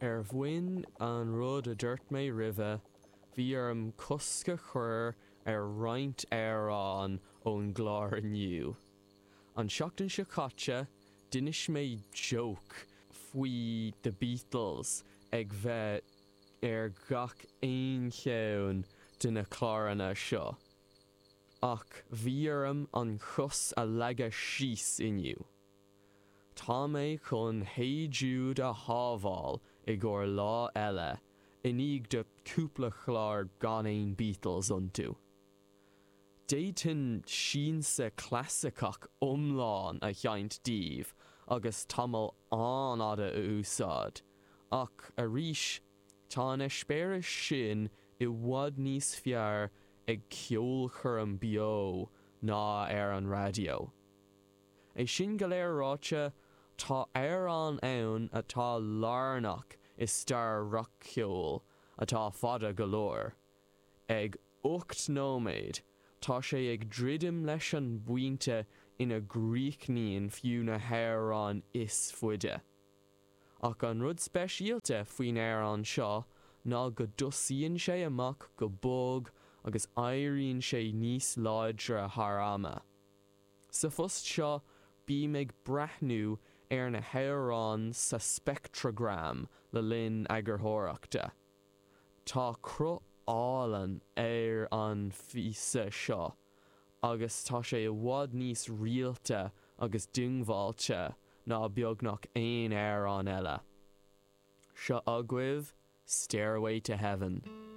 Ar bhonn an rud a dúirt mé roimhe, bhí orm cosc a chur ar roinnt amhrán ón gclár inniu. An seachtain seo caite, d'inis mé joke faoi The Beatles ag bheith ar gach aon cheann de na cláranna seo, ach bhí orm an chos a leagadh síos inniu. Tá mé chun Hey Jude a shábháil i gcomhair lá eile, i ndiaidh do cúpla chlár gan aon Beatles iontu. D'fhéadfainn siansa clasaiceach iomlán a sheinnt daoibh agus tamall an-fhada a úsáid, ach arís, tá an eispéireas sin i bhfad níos fearr ag ceolchoirm beo ná ar an raidió. É sin go léir ráite, tá amhrán ann atá lárnach i stair rac-cheoil atá fada go leor. Ag 8 nóiméad, tá sé ag druidim leis an bpointe ina gcríochnaíonn fiú na hamhráin is faide. Ach an rud speisialta faoin amhrán seo ná go dtosaíonn sé amach go bog agus éiríonn sé níos láidre thar ama. Sa phost seo bím ag breathnú ar na hamhráin sa speictreagram le linn eagarthóireachta. Tá cruth álainn ar an phíosa seo agus tá sé i bhfad níos rialta agus diongbháilte ná beagnach aon amhrán eile. Seo agaibh Stairway to Heaven.